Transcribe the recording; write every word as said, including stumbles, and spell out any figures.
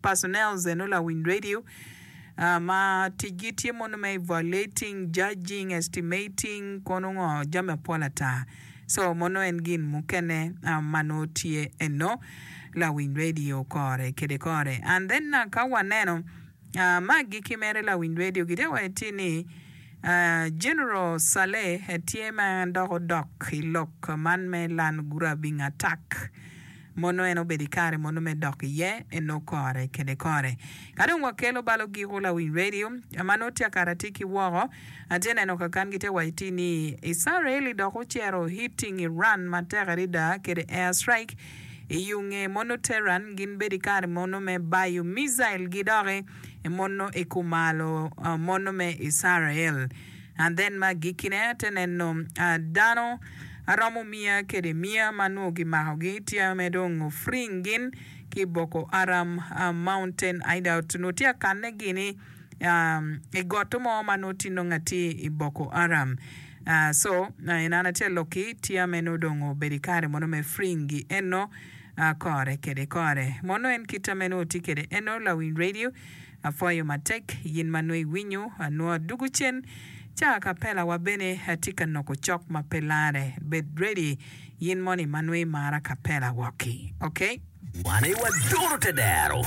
Personnels eno lawiny radio ma ticgi tye mono me evaluating, judging, estimating kono ngo jami mapol ata so mono en gin mukene ma nongo tye eno lawiny radio kore kede kore and then ka waneno me agikki mere lawiny radio gitye ka waco atir ni General Saleh tye ma dok odok i lok man me land grabbing attack mono en obedo i kare mono me dok iye eno kore kede kore. Ka dong wakelo bal ogiko lawiny radio ma nongo tye akara tye ki woko atye neno kakan gitye waco ti ni Israeli dok ocero hitting Iran matek adada kede air strike i yunge mono Tehran gin bedo i kare mono me bayo missile gi doki mono i kumalo mono me Israel. And then ma agikkine ate neno dano aromo miya kede miya ma nongo gimakogi tye me dong freeing gin ki Boko Haram mountain hideout nongo tye akanne gini i goto mo ma nongo tye nongo atir i Boko Haram. So en an atye alokki tye me nongo dong obedo i kare mono me freeing gi eno kore kede kore. Mono en kita me nongo tye kede eno lawiny radio apwoyo matek yin ma nongo iwinyo nongo adugu cen ca kapela wa bene atye ka noko cok ma pe lare bed ready yin moni ma nongo imara kapela woki okay. Wan aye wadoro te dero.